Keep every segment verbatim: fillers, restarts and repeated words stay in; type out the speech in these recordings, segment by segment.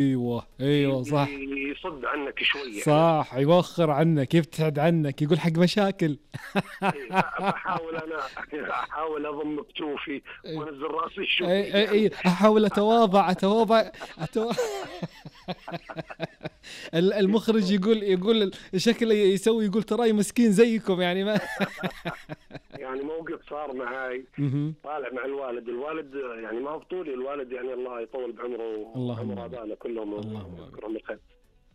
ايوه ايوه صح. يصد عنك شويه، صح، يوخر عنك، يبتعد عنك، يقول حق مشاكل. فاحاول انا احاول اضم بجوفي وانزل راسي شوي. اي اي اي احاول اتواضع اتواضع أتواضع. المخرج يقول يقول شكله يسوي، يقول تراي مسكين زيكم يعني ما. يعني موقف صار معاي، طالع مع الوالد، الوالد يعني ما هو بطولي، الوالد يعني الله يطول بعمره وعمر ابائنا كلهم يذكرهم بالخير.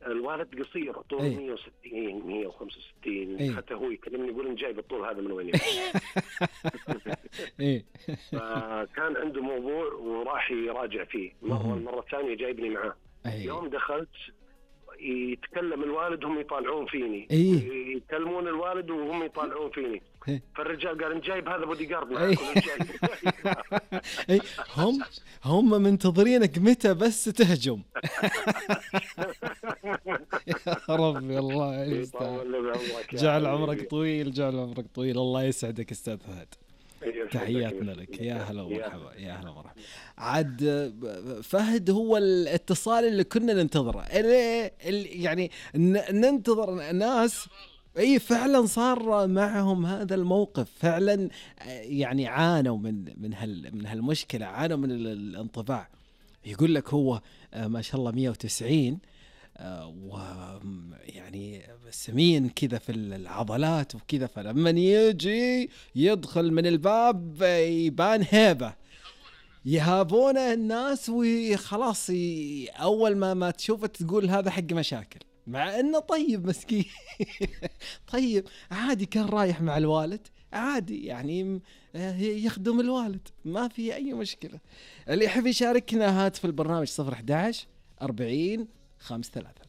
الوالد قصير طول أيه. مية وستين مية وخمسة وستين أيه. حتى هو يكلمني يقول إن جايب الطول هذا من وين. ايه. فكان عنده موضوع وراح يراجع فيه مرة، المرة الثانية جايبني معاه. أيه. يوم دخلت يتكلم الوالد هم يطالعون فيني، أيه. يكلمون الوالد وهم يطالعون فيني. أيه. فالرجال قال إن جايب هذا بودي جارد معك. أيه. هم هم منتظرينك متى بس تهجم. يا ربي الله يستاهل. جعل عمرك طويل، جعل عمرك طويل، الله يسعدك استاذ فهد. تحياتنا لك، يا هلا ومرحبا، يا هلا ومرحبا. عاد فهد هو الاتصال اللي كنا ننتظره، يعني ننتظر ناس اي فعلا صار معهم هذا الموقف، فعلا يعني عانوا من من هال من هالمشكله، عانوا من الانطباع. يقول لك هو ما شاء الله مية وتسعين ويعني سمين كذا في العضلات وكذا، فلما يجي يدخل من الباب يبان هيبة، يهابونه الناس وخلاص أول ما ما تشوفه تقول هذا حق مشاكل، مع إنه طيب مسكين. طيب عادي، كان رايح مع الوالد عادي يعني يخدم الوالد، ما في أي مشكلة. اللي يحب يشاركنا هات في البرنامج صفر أحد عشر أربعين خمسة ثلاثة.